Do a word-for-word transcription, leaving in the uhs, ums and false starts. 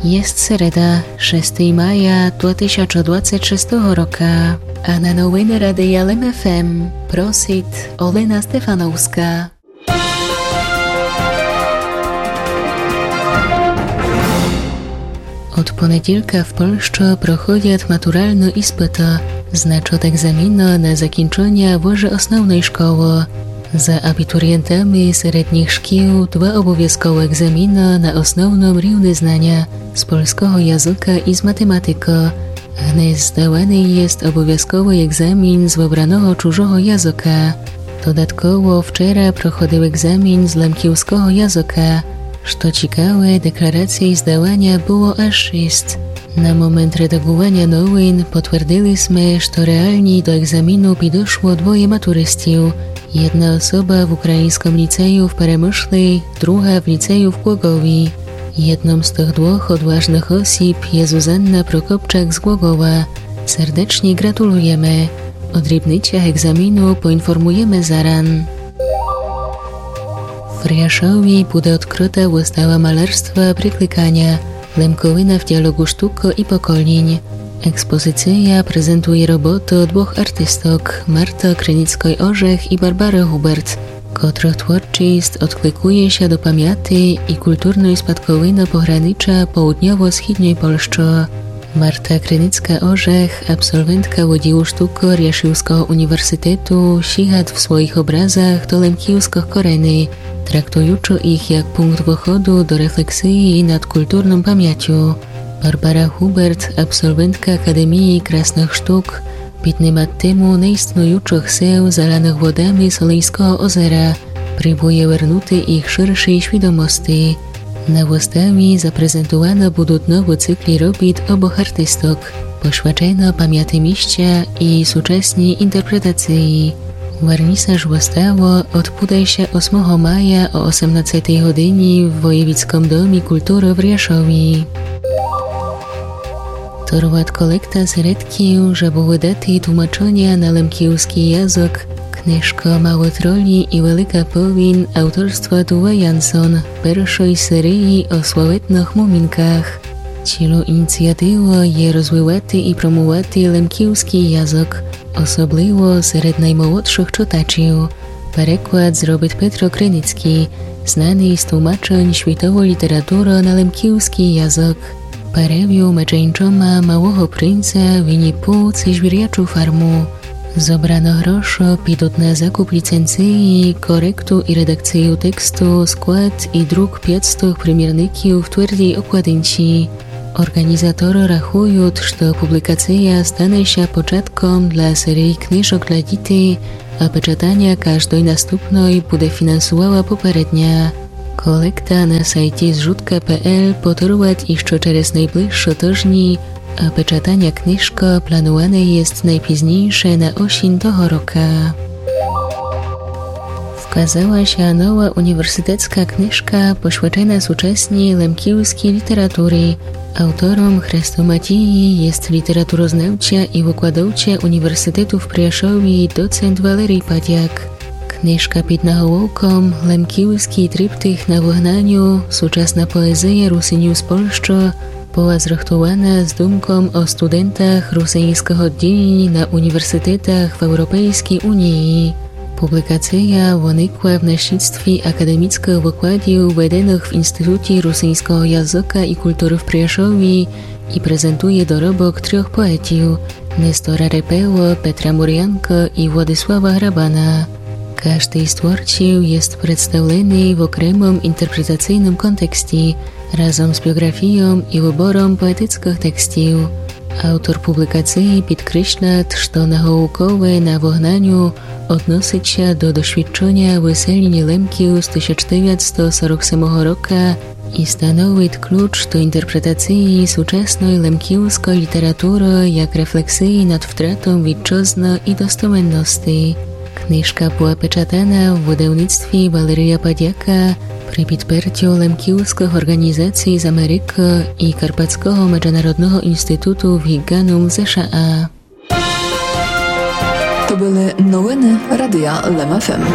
Єст середа, шестый мая дві тисячы двадцять шестого рока. А на новины Радия Лем ФМ просит Олена Стефановска. Од понеділка в Польщы проходят матуралны іспыты. Значат екзаміны на закінченя выже основной школы. За абітурієнтами середніх шкіл два обовязковы екзаміны на основном рівны знаня з польского языка і з математикы. Гнесь здаваный єст обовязковый екзамін з выбраного чужого языка. Додатково вчера проходил екзамін з лемківского языка. Што цікаве, декларацій здаваня было аж шіст. На момент редагуваня новин потвердили сме, што реалні до екзаміну підошло двоє матуристів. Єдна особа в україньском ліцею в Перемышлі, друга в ліцею в Глоґові. Єдном з тых двох одважных осіб є Зузанна Прокопчак з Глоґова. Сердечні ґратулуєме. О дрібницях екзаміну поінформуєме заран. В Пряшові буде одкрыта выстава малярства Прикликаня. Лемковина в діалоґу штукы і поколінь. Експозиція презентує роботы двох артисток, Марты Криницкой-Ожех і Барбары Губерт, котрых творчіст одкликує ся до памяти і культурной спадковины погранича поудньово-східньой Польщы. Марта Криницка-Ожех, абсолвентка Одділу штукы Ряшівского універсітету, сіґат в своіх образах до лемківскых кореней, трактуючы їх як пункт выходу до рефлексії над культурном памятю. Барбара Губерт, абсолвентка Академії красных штук, піднимат тему неіснуючых сел, заланых водами Солиньского озера, прібує вернути їх ширшій свідомости. На выставі запрезентуваны будут новы циклі робіт обох артисток, пошвячено памяти місця і сучасній інтерпретації. Вернісаж выставы одбуде ся осмого мая о осемнадцятій годині в Воєвідском домі культуры в Ряшові. Торгуват колектат середків, жебы выдати тлумаченя на лемківскій язык книжка Малы тролі і велика повін авторства Туве Янсон, першой серії о славетных Мумінках. Цілу ініціативу є розвивати і промувати лемківскій язык, особливо серед наймолодшых читачів. Переклад зробит Петро Криницькій, знаный з тлумачень світовой літературы на лемківскій язык. Перевів медже іншыма Малого принца, Вінні-Пу ци Звірячу фарму. Зобраны гроші підут на закуп ліценції, коректу і редакцію тексту, склад і друк пятстох примірників в твердій обкладинці. Орґанізаторы рахуют, што публікація стане ся початком для серії книжок для дітей, а печатаня каждой наступной буде фінансувала попередня. Колекту на сайті зжутка пе ел поторгуват іщы через найближшы тыжні, а печатаня книжкы плануване єст найпізнійше на осінь того рока. Вказала ся нова універсітетска книжка, пошвячена сучасній лемківскій літературі. Автором хрестоматії єст літературознавця і выкладовця Універсітету в Пряшові доцент Валерій Падяк. Книжка під наголовком «Лемківскій триптих на выгнаню. Сучасна поезія русинів з Польщы» была зрыхтувана з думком о студентах русиньского одділіня на універсітетах в Европейскій унії. Публікація выникла в наслідстві академіцкых выкладів, веденых в Інстітутї русиньского языка і культуры в Пряшові, і презентує доробок трьох поетів: Нестора Репело, Петра Мурянка і Владислава Грабана. Каждый з творців єст представленый в окремом інтерпретацийном контексті, разом з біоґрафійом і выбором поетіцкых текстів. Автор публікації підкреслят, што наголовкове «на выгнаню» односит ся до досвідченя выселіня Лемків з тисяч девятсто сорок семого рока і становит ключ до інтерпретації сучасной лемківской літературы як рефлексії над втратом вітчызны і достоменности. Книжка была печатана в выдавництві Валерія Падяка при підпертю лемківскых орґанізацій з Америкы і Карпатского меджынародного інстітуту в Гіґанум в З Ш А. То были новины Радия Лем Ф М.